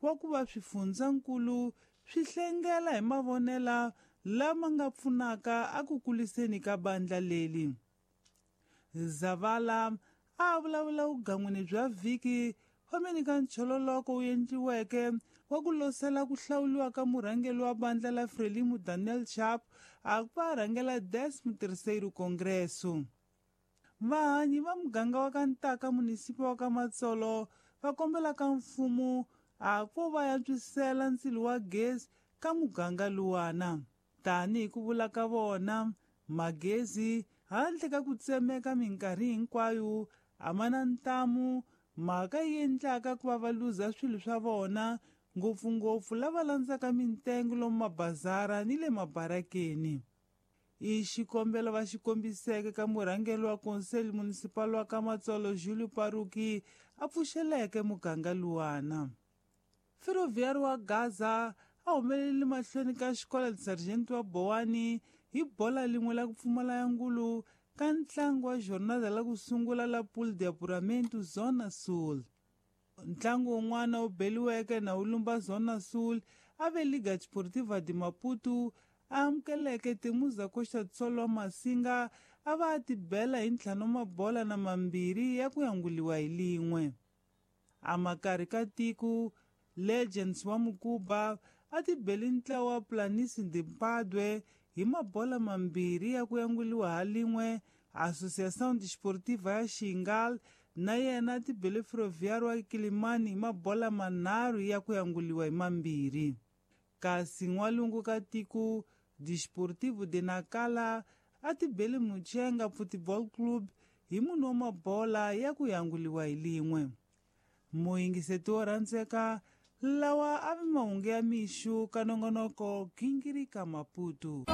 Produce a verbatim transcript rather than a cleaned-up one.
wa ku va swifundzankulu swi hlengela hi mavonela lama nga pfunaka a ku kuliseni ka bandla leli. Zavala a vulavula vugan'wini bya vhiki fambeni ka nchololoko wu endliweke wa ku losela ku hlawuliwa ka murhangeri wa bandla la Frelimo Daniel Chapo a ku va rhangela décimo terceiro Congresso. Vahanyi va muganga wa ka Ntaka munisipa wa ka Matsolo va kombela ka mfumo a ku va antswisela ndzilo wa gezi ka muganga luwana. Tanihi ku vula ka vona, magezi handle ka ku tsemeka minkarhi hinkwayo a ma na ntamu, mhaka yi endlaka ku va va luza swilo swa vona, ngopfungopfu lava landzaka mintengo lomu mabazara ni le mabarakeni. I xikombelo va xi kombiseke ka murhangeri wa Conselho Municipal wa ka Matsolo Julio Paruki a pfuxeleke muganga luwana. Ferroviário wa Gaza a humelele mahlweni ka xikolo Sargento wa Bowani hi bola lin'we la ku pfumala ya ngulu ka ntlangu wa jornada la ku sungula la Pool de Apuramento Zona Sul. Ntlangu wun'wana wu beliweke na wu lumba Zona Sul a ve Liga Desportiva de Maputo a amukeleke Temuza Costa do Sol wa Masinga a va a tibela hi ntlhanu mabola na mambirhi ya ku yanguliwa hi lin'we. A makarhi ka tiko Legends wa Mukuba a tibeli ntlawa wa Planície de Mpadue hi mabola mambirhi ya ku yanguliwa ha lin'we. Associação Desportiva ya Xingal na yena a tibele Ferroviário wa Kilimani hi mabola manharhu ya ku yanguliwa hi mambirhi. Kasi n'walungu ka tiko Desportivo de Nacala a tibele Muchenga Futebol Club hi munhu wa mabola ya ku yanguliwa hi lin'we. Muyingiseti wo rhandzeka lawa a vi mahungu ya mixo ka nongonoko Gingirika Maputo.